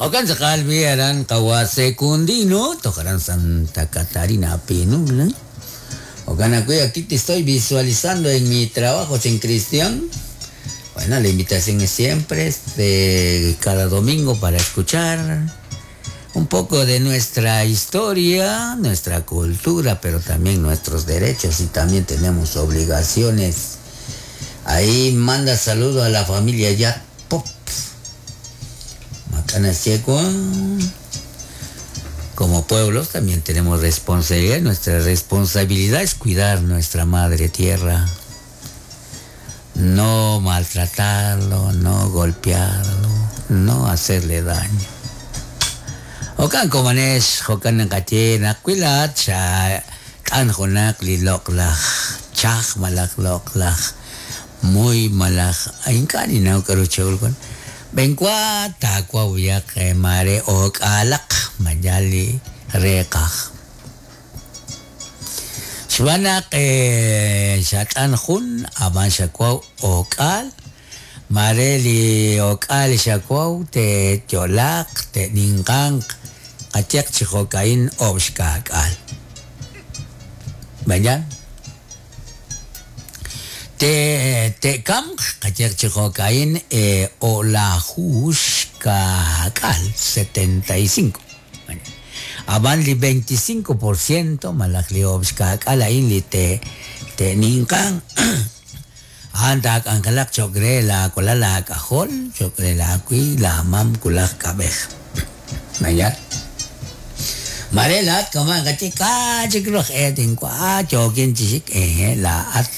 Jo'kan tz'aqal b'i aran qawa' Secundino, toj aran Santa Catarina Pinula. Jo'kan ajwi' aquí te estoy visualizando en mi trabajo, Chen Cristian. Bueno, la invitación es siempre este, cada domingo para escuchar un poco de nuestra historia, nuestra cultura, pero también nuestros derechos y también tenemos obligaciones. Ahí manda saludo a la familia Yat Pop. Como pueblos también tenemos responsabilidad. Nuestra responsabilidad es cuidar nuestra madre tierra. No maltratarlo, no golpearlo, no hacerle daño. Jo'kan komonex, jo'kan naqaye naq wi laa'at xak'an junaq li loq'laj chaj malaj loq'laj muy malaj ink'a' ninnaw k'a'ru chehul wan. B'enwa taawaw yaq maare o'k'aalaq mayal li reeqaj. Xb'aan naq xat'an jun ab'an xawaw o'k'aal, maare li o'k'aal li xawaw te'yo'laaq, te'ninqanq, qayehaq chi jo'ka'in oob' xka'k'aal. Mayan? Te'kamq, qayehaq chi jo'ka'in o'laju xka'k'aal, 75. Ab'an li 25% malaj li oob' xka'k'aal a'in li te'ninqanq, a'an taak'anjelaq cho'q re laawalal aak'ajol, cho'q re laawi, laamam wulaj k'ab'ej. Mayan? Mare laa'at kama' naqaye k'a' chik ru aj e tinwa' yookin chi xik, ehe laa'at.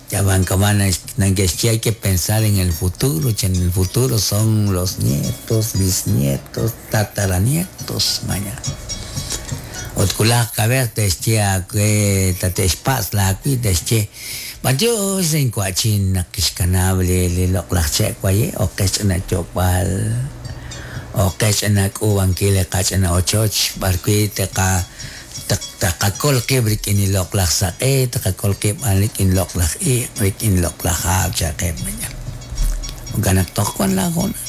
Ab'an kama' nake'xye hay que pensar en el futuro, chan el futuro son los nietos, bisnietos, tataranietos, maña. Ut wulaj kab'ej te'xye aawe tate'xpatz' laawi' te'xye b'antiox inwa'chin naq kixkanab' li loq'laj che' waye' ok qe xch'ina yo'kb'al, ok qe xch'ina k'uub'ankil li qach'ina ochoch b'arwi' teqa taqakol qib' rik'in li loq'laj saq'e, taqakol qib' rik'in loq'laj iq', rik'in loq'laj hab' cha'qeb' maña. Jo'kan naq toj wan laahoonal.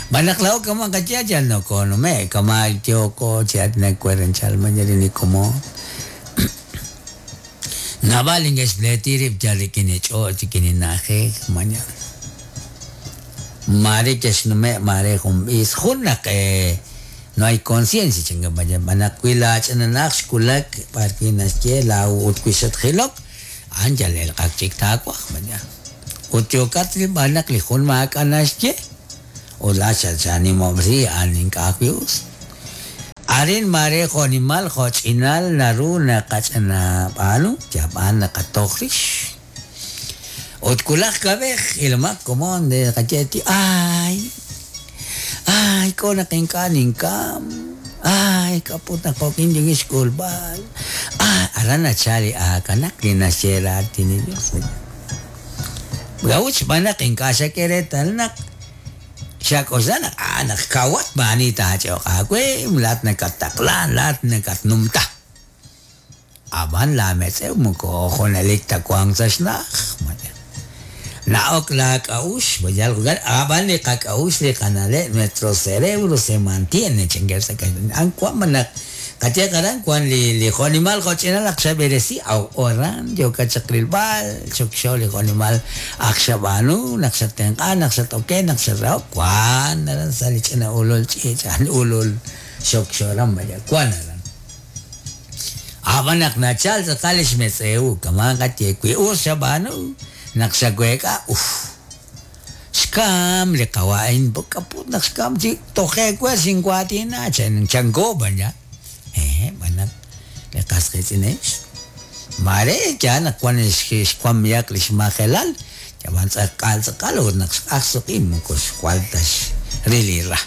Xb'aan naq laa'o kama' qaye yal nokonume'k, kama' yooko chi aatinak werenchal maña li nikomon. Naab'al li neke'xpleeti rib' yal rik'in li ch'och', rik'in li na'ajej, maña. Maare ke'xnume' maare jun b'is, jun naq no hay conciencia chankeb' maña. Xb'aan naq wi laach'inanaq xwulak b'arwi' naxye laawu ut wi xatjilok, a'an yal elq'ak chik taawaj, maña. Ut yookat rilb'al naq li jun maak'a' naxye ut laa'at xatxaanimob'resi a'an ink'a' ajwi' us. Arin maare jo'nimal jo'ch'inal naru naqach'anab'aanu, yab'aan naqatoj rix. Ut wulaj kab'ej, ilomaq komon de naqaye ti ay, ay k'o naq ink'a' ninkam, ay k'a' put naq jo'kin yookin xk'ulb'al, ay aran nachal li aakanak li naxye raatin li Dios. K'a'ut? Xb'aan naq ink'a' xak'e reetal naq xak'oxla naq a'an naq kawat maa'ani taach'e'oq aawe, laa'at nakattaqlan, laa'at nakatnumta. Ab'an laametz'ew moko junelik ta wank sa' xna'aj. Na'ok laak'a'uxl, ab'an li qak'a'uxl li qana'leb', nuestro cerebro se mantiene, chankeb' sa' kaxlan. A'an wank malaj Qayehaq aran wank li jo'nimal jo'ch'inal ak xab'eresi, aw aran yookat chaq rilb'al, xokxo li jo'nimal ak xab'aanu, naq xattenq'an, naq xat-oken, naq xatrahok, wank aran sa' li ch'ina ulul ch'iich', al ulul xokxo aran vaya, wank aran. Ab'an naq nachal tz'aqal li xmetz'ew, kama' qaye, wi us xab'aanu, naq xaweek'a, uf. Xkam li qawa' a'in, k'a put naq xkam chi toje' we xinwaatina, chanko b'an ya. Hehe, b'an naq li qas qiitz'in a'in maare yaal naq wan xwamihaq li xmajelal, yab'an tz'aqal tz'aqal ut naq xq'aj suq'i moko xjwal ta xril li ra.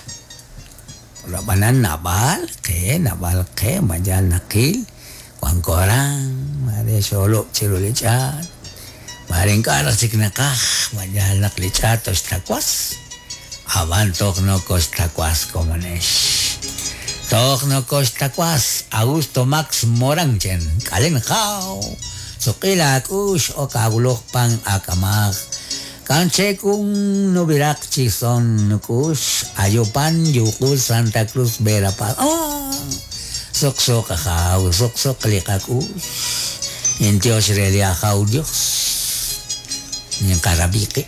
Ab'anan naab'al qe, naab'al qe ma yaal naqil, wanko aran, maare xoolub' chiru li ch'aat, maare ink'a' raj chik naqaj, ma yaal naq li ch'aat toxtawas, ab'an toj nokoxtawas komonex. Toj nokoxtawas, Augusto Max Morán chen, k'alen jaw, suq'i laak'ux ok aawuloj pan aak'amaj. Kanchekun nubirak chison nukush ayopan yukul Santa Cruz Verapaz. Oh, sok sok ajaw, sok sok likakush. Intios reli ajaw Dios. Ni karabiki.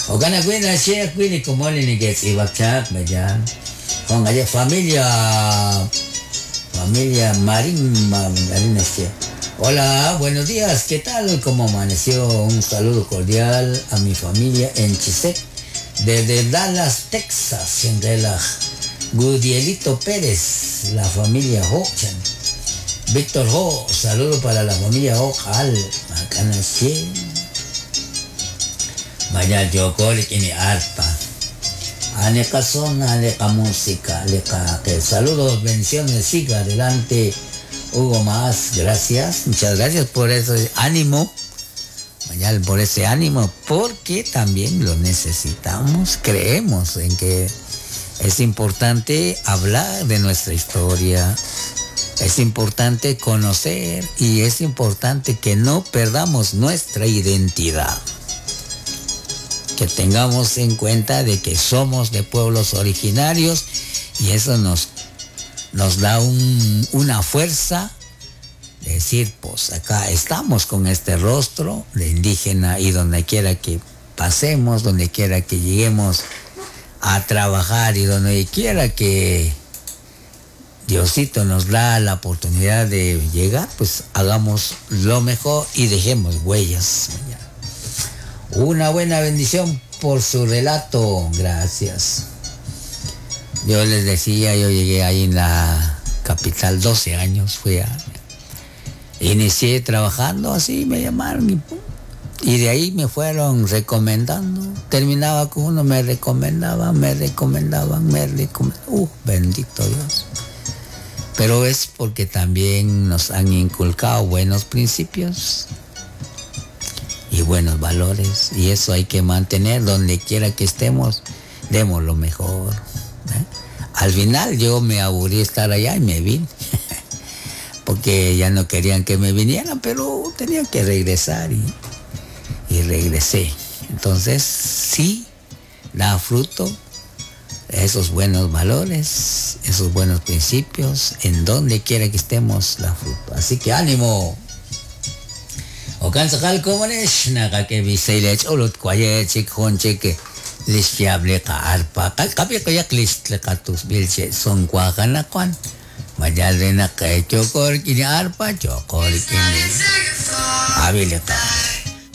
Ogana kwina siya kwini kumoli ni gets ibakchak bayan. Kung aja familia familia Marín Marín siya. Hola, buenos días, ¿qué tal? ¿Cómo amaneció? Un saludo cordial a mi familia en Chisec, desde Dallas, Texas, en relaj. Gudielito Pérez, la familia Ho-chan. Víctor Ho, saludo para la familia Ho, Al, Macanache. Vaya, yo ini arpa. Aleca son, aleca música, aleca que saludos, bendiciones, siga adelante. Hugo Más, gracias, muchas gracias por ese ánimo, mañana por ese ánimo, porque también lo necesitamos, creemos en que es importante hablar de nuestra historia, es importante conocer y es importante que no perdamos nuestra identidad. Que tengamos en cuenta de que somos de pueblos originarios y eso nos, nos da una fuerza de decir, pues acá estamos con este rostro de indígena y donde quiera que pasemos, donde quiera que lleguemos a trabajar y donde quiera que Diosito nos da la oportunidad de llegar, pues hagamos lo mejor y dejemos huellas. Una buena bendición por su relato. Gracias. Yo les decía, yo llegué ahí en la capital 12 años, fui a... Inicié trabajando así, me llamaron y, y de ahí me fueron recomendando. Terminaba con uno, me recomendaban, me recomendaban, me recomendaban. Bendito Dios. Pero es porque también nos han inculcado buenos principios y buenos valores. Y eso hay que mantener donde quiera que estemos, demos lo mejor. ¿Eh? Al final yo me aburrí estar allá y me vine. Porque ya no querían que me vinieran, pero tenía que regresar y, y regresé. Entonces, sí, da fruto esos buenos valores, esos buenos principios, en donde quiera que estemos, da fruto. Así que ánimo. Okan sakal komonesh nakake ulut kwaye chik honchik lixyable ka arpa kapi kayak list lekatus bilche son kwakanakuan mayal de na chokor kini arpa chokor kini abile ka.